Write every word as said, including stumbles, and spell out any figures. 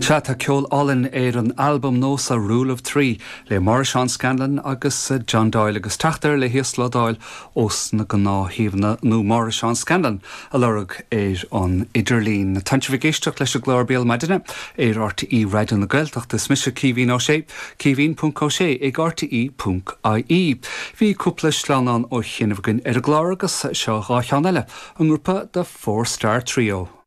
Sea tá ceol álainn ar an albam nua seo Rule of Three le Máire Seán Scanlon agus John Doyle agus teacht air le híoslódáil ós na gnáthshuíomhanna nó Máire Seán Scanlon a lorg ar an idirlíon. Tá sibh ag éisteacht leis an gclár Béal Maidine ar RTÉ Raidió na Gaeltachta is mise Caoimhín Ó Sé, caoimhín.ó sé ag RTÉ.ie. Bhí cúpla sleamhnán ó chianaibh againn ar an gclár agus seo dhá cheann eile an grúpa The Four Star Trio.